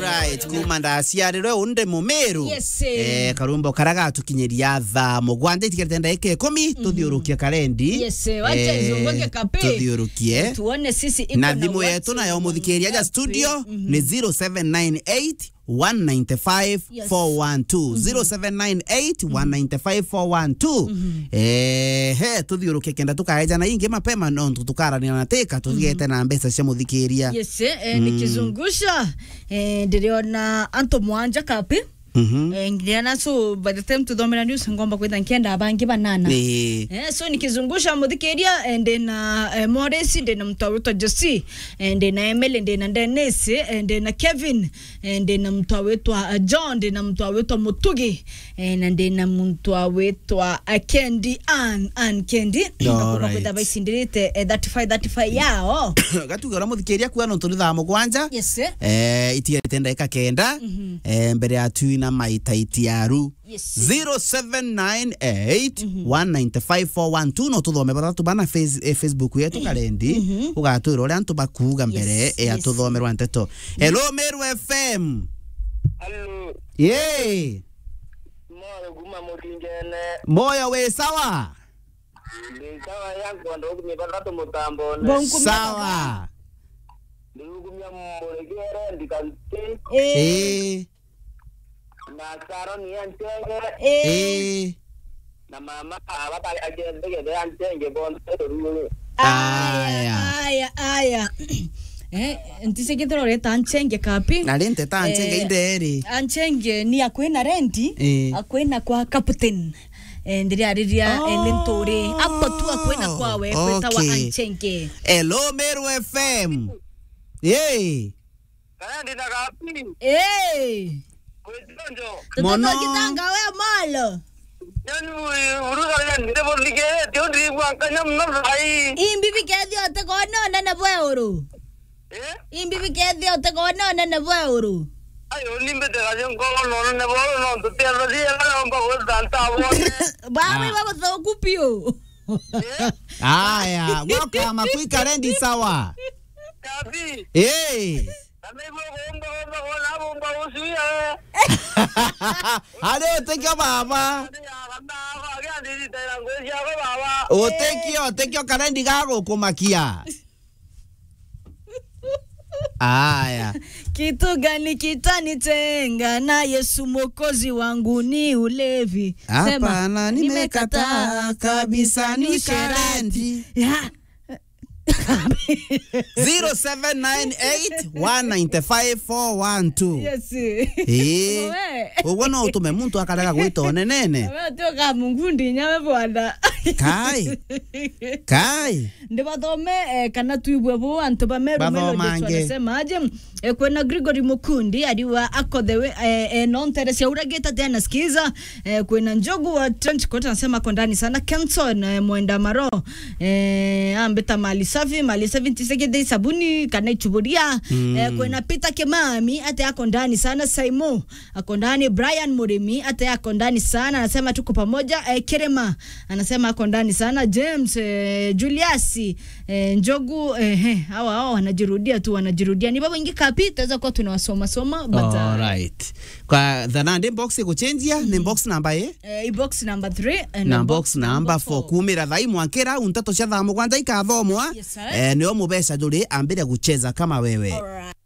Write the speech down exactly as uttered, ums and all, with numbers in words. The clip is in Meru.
Right, kuma ndaciarirwe unde Mumiru. Yes, eh. Eh, karumbo kara gatukinyiria thaa mugwanja itigarite ndagika ikumi, tuthiurukie karendi. Yes, eh, wacha eh, izunguke kapi. Tuthiurukie. Tuone sisi iko na thimu yetu nayo muthikiria aja studio ni zero seven nine eight, one nine five, four one two. Yes. Zero seven nine eight, one nine five, four one two. Eh, he, tuthiurukie kenda tukaejana ingi mapema nontu tukarania na tika, tuthigete na mbeca cia muthikiria. Yes, eh, nikizungusha, eh, ndiriona antu mwanja kapi. Eh, ngiriana, so by the time tuthomera news ngomba kwitha nkienda bangi banana. Eh, so nikizungusha muthikiria, eh, ndina, eh, Morris, ndina mtu awitwa Josie, eh, ndina Emily, ndina Dennis, eh, ndina Kevin, eh, ndina mtu awitwa, eh, John, ndina mtu awitwa Mutugi, eh, na ndina mtu awitwa, eh, Kendi Ann, Ann Kendi. All right. Kwitha baicindirite, eh, thirty-five, thirty-five yao. Gatuge uria muthikiria kuga nontu ni thaa mugwanja. Yes, sir. Eh, itigarite ndagika kenda, eh, mbere ya twina maitaiti aru. Yes, sir. Zero seven nine eight, one nine five, four one two, no tuthome bathatu bana face-, eh, Facebook yetu karendi, ugatwira uria antu bakuuga mbere ya tuthomerwa nteto. Hello, Meru F M. Hello. Yee. Moyo kuma Muringene. Moyo wi sawa? Ndi sawa ya nkondo kumye bathatu mutambone. Sawa. Ndi kumya muregere ndikanti. Eh. Na Saroni ya Nchenge. Eh. Na mama aba ba-, agethegere ya Nchenge bonthe ruru. Aya, aya, aya. Eh, ntisikithira ureta Nchenge kapi. Na rinteta Nchenge inderi. Anchenge ni akwina rendi, eh, akwina kwa captain. Eh, ndiriariria, eh, ni nturi. Apo tu akwina kwawe, kwetawa Anchenge. Hello, Meru F M. Yee. Kana ndi na gapi? Eh. Kwitonjo. Mono. Tutoto kitanga we molo. Yani, uruga ya ndire bothigirite, ndirigua nkanya muno thai. Imbi bikethia utikona unene bwa uru. Eh? Imbi bikethia utikona unene bwa uru. Ayo, nimbite gaje nkoro none boro no tutia thia na omba gwita ntabone. Baba, ah, iba guthoku piu. Eh? Aya, welcome, akwika rendi sawa. Kabi. Eh. Kana ibo gomba, gomba, gomba, gomba ucio ya. Ari utikio baba. Ari ya gamba, agia ndiri tera ngozi yako baba. Utikio, utikio karendi gagukumakia. Aya. Kitu gani kitanitenga na Yesu Mwokozi wangu? Ni ulevi. Sema, hapana, nimekataa kabisa, ni usherati. Ya. Zero seven nine eight, one nine five, four one two. Yes. Eh. We. Uguo no utume muntu akarega gwita onenene. We utioka mungundi nyawe bwana. Kai. Kai. Ndibathome, eh, kana tuibwe bu antu ba Meru Melodies wanasema aje? Eh, kwina Gregory Mukundi, ariwa ako the way, eh, eh, no ntere cia uragita tena sikiza. Eh, kwina Njogu wa Trench Coat anasema ako ndani sana. Kenson, eh, Mwenda Maro, eh, ambita mali safi, mali safi ntisekete sabuni kana ichuburia. Eh, kwina Peter Kimami, ate ako ndani sana. Saimo, ako ndani. Brian Murimi, ate ako ndani sana, anasema tuko pamoja. Eh, Kirima, anasema ako ndani sana. James, eh, Julius, eh, Njogu, eh, eh, hawa, hawa wanajirudia tu, wanajirudia. Ni babo ingi kapi, tuweza kuwa tunawasoma soma, but, uh, all right. Kwa the nandi box iguchenjia, ni box number A? Eh, i box number three, eh, na box number four. Kumira thai mwankira, untato cia thaa mugwanja ikathomwa. Yes, sir. Eh, nio mubeca juri ambire gucheza kama wewe. All right.